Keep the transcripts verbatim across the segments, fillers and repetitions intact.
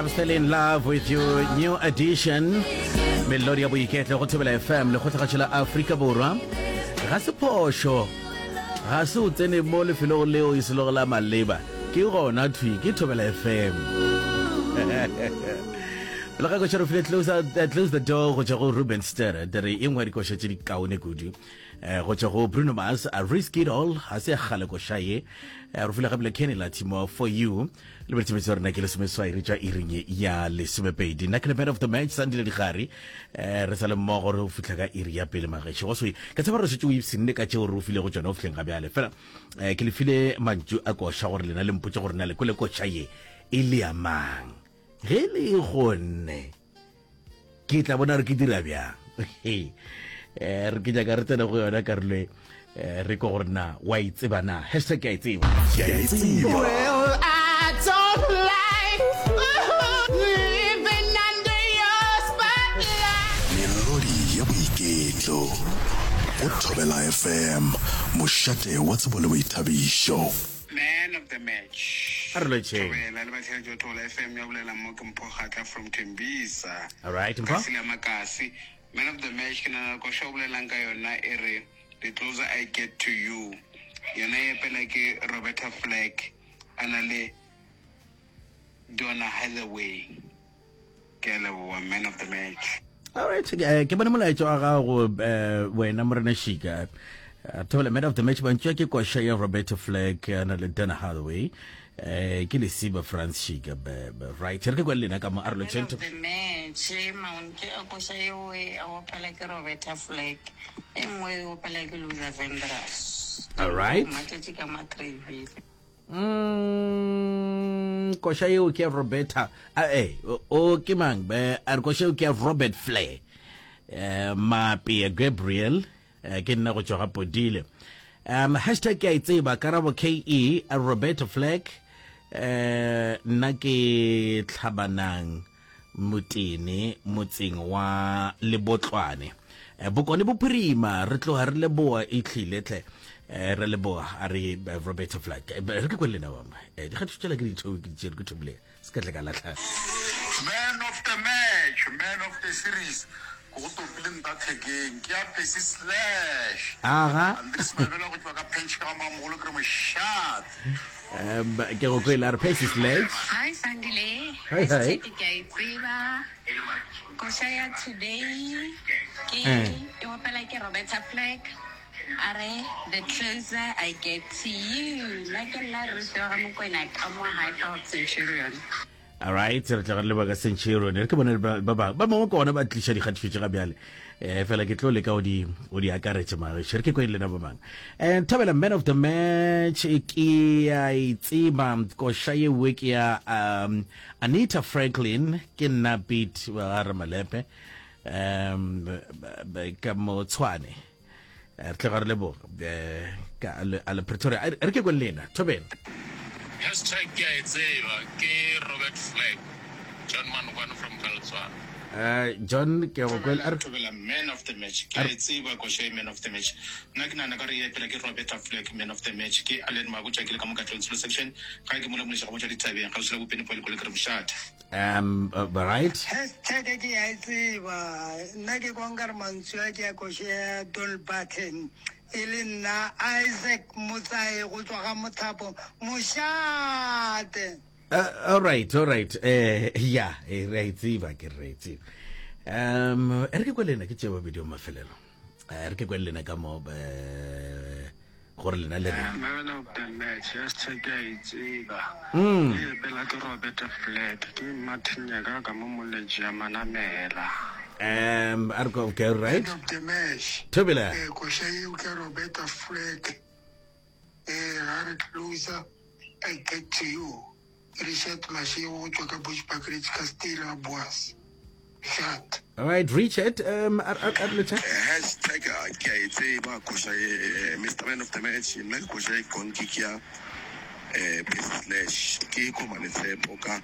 I'm still in love with you new edition melodi ya boiketlo go thobela fm lekgotlagatšo la afrika borwa ga se phošo ga se o tsene mo lefelong leo e selego la maleba ke gona thwi ke thobela fm pele ga koša re file close, uh, close the door go tšwa go ruben ster re e nngwe ya dikoša tše di kaone kudu eh, go tšwa go bruno mars a risk it all ga se ya kgale koša ye Eh, re file gape le kenny latimo for you le boletshebetso rena ke lesomeswai re tšwa iring ya lesomepedi nna ke le man of the match sandile digare um re sa le mmogo re go fitlha ka iri ya pele magešo go swe ka tseba re setse o ipshinne ka tšeo re o file go tsona go fitlheng ga bjale fela um ke le file mantšu a koša gore lena le mpotse gore na le kwele koša ye e le ya mang ge le gonne ke tla bona re ke dira bjang um re ke nyaka re tsene go yona karolo e eh, re ko gore na wa e tseba na hashtag ke a e tseba Ke a e tseba. Well, I don't like living under your spotlight. Melodi ya boiketlo go Thobela FM, mošate wa tsebo le boithabišo. Man of the match. A re lotšheng. Thobela le batheeletši ba Thobela FM ya bolela mo ke Mpho Kgatla from Tembisa. All right, Mpho. Kasi la Makasi. Man of the match ke nana koša o bolelang ka yona e re the closer I get to you. Yona e epela ke Roberta Flack a na le Donna Hathaway. Ke a leboha man of the match. All right, eh, ke bone molaetša wa gago eh, wena morena Shika. Eh, Thobela man of the match mantšu a ke koša ya Roberta Flack a na le Donna Hathaway. Eh, ke lesiba France Shika be- be- right re ke kwa le lena ka mo a re Man lotšheng of the match maontše a koša eo e a opela ke roberta flack e nngwe e opela ke luther vandross All right. matšatši ka matrevile Mm, koša yeo ke ya roberta a eh o o ke mang be a re koša yeo ke ya robert flair eh mape gabriel eh, ke nna go tšwa ga podile um hashtag ke a e tseba karabo ke a roberta flack eh nna ke tlhabanang motene motseng wa lebotlwane Eh, bokone bophirima re tloga re leboa e tlile tle eh, re leboa a re eh, roberta flack Eh, re ke kwe le lena bangwe Eh, dikgatišo tšela ke di tho- ke di tšere ke thomile se ka tle ka latlha Man of the match, man of the series. Ke go topile nta thekeng. Ke ya Percy Slash. Aga. Andries Mabela go tšwa ka Pench ka Mamogolo ke re mošate. um ke go kwele a re Percy Sledge hi sandile Hi, hi. Hashtag ke a e tseba koša ya today ke Eh. e opela ke roberta flack a re the closer i get to you nna ke nna ruth wa ga mokwena ka mo highfield centurion all right re tla re leba ka centurion re ke bone ba ba ba bangwe ke ona ba tliša dikgatišo tše ga bjale eh fela ke tlo leka o di o di akaretše magešo re ke kwe le lena ba bangwe um thobela man of the match ke a e tseba koša yewe ke ya um anita franklin ke nna beat wa ga ramalepe um ka mo tshwane Eh, re tloga re leboga eh, ka a le- a le pretoria A re re ke kwe le lena thobela Hashtag ke a e tseba ke Robert Flack John Manokwane from Galtswana. Eh, john ke go kwele a re Thobela man of the match. Ke a e tseba koša e man of the match. Nna ke nahana ka re e epela ke Roberta Flack man of the match. Ke Allen Mabotja ke le ka mo Katlehong Tsholo section. Ga ke mola moleša ga botša dithabeng kgauswi le Bopeni Point ke re mošate. um uh, right hashtag ke a e tseba nna ke kwa nkare mantswe a ke ya koše ya Dolly Parton e le nna Isaac Motsae go tswa ga Mothapo mošate Uh, all right, all right. Eh, ya, eh, re a e tseba ke re a e tseba. Um, e re ke kwe lena ke tšea babedi wa mafelelo. Eh, re ke kwe lena ka mo eh gore lena le reng. Man of the match hashtag ke a e tseba. Mm. E epela ke Roberta Flack ke Martin Nyaka ka mo moletši ya Manamela. Um, a re ko- okay, all right. Man of the match Thobela. eh koša eo ke Roberta Flack eh ga re closer I get to you Richard Mashego go tšwa ka Bushbuckridge ka Stella Boas Shat All right, Richard, um a a a re lotšha. Hashtag ke a e tseba koša e Mr Man of the match. Nna ke koša e konke ke ya Eh, Percy Slash, ke koma le tshepo ka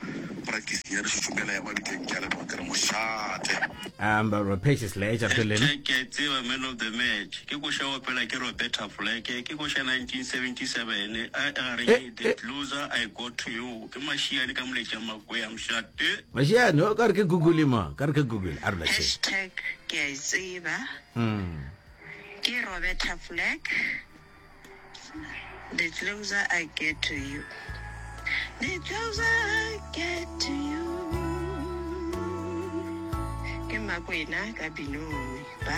practice ya re šušumela ya mabitleng, ke a leboga ke re mošate. Um, Percy Slash, a re lena. Hashtag ke a e tseba man of the match ke koša ya opela ke Roberta Flack ke koša nineteen seventy seven a e gare Eh, ke The eh. Closer I Got to You ke Mašiane ka moletša Makwea mošate. Mašiane, o ka re ke Google mo, ka re ke Google, a re latšhe. Hashtag ke a e tseba Mm. ke Roberta Flack, The Closer I Get to You, The Closer I Get to You, ke Makwena ka Binoni. Bye.